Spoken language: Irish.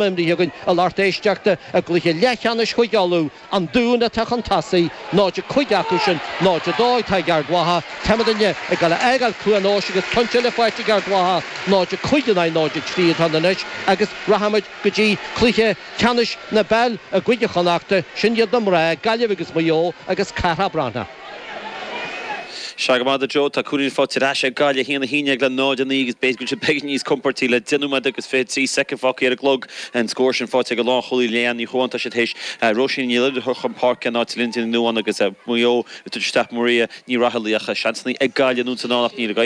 Imrithe againn a lucht éisteachta i gcluiche leathcheannais Chúige Uladh, An Dún atá chun tosaigh, 0-5 acu sin, 0-2 atá ag Ard Mhacha. Táimidne ag dul a fhágáil Cluain Eois agus pointe eile faighte ag Ard Mhacha, 0-5 in aghaidh 0-3 atá ann anois agus rachaimid go dtí cluiche ceannais na peile i gCúige Chonnachta, sin iad na mná, Gaillimh agus Maigh Eo agus Cárthach Breathnach. Sea go maith a Joe, tá cúilín faighte ar ais ag Gaillimh, 1-11 le 0-9 agus b'fhéidir go bhfuil siad beagán níos compórtaí le 10 nóiméad agus 23 soicind fágtha ar an gclog. An scór sin faighte ag an lánchúlaí Leanne Ní Chualáin. Tá siad théis Róisín Ní Loideáin a chur chun páirce in áit Lindsay Ní Nuadháin agus Maigh Eo ag tabhairt isteach Maria Ní Raghallaigh ach seansanna ag Gaillimh anonn is anall ach níl ag.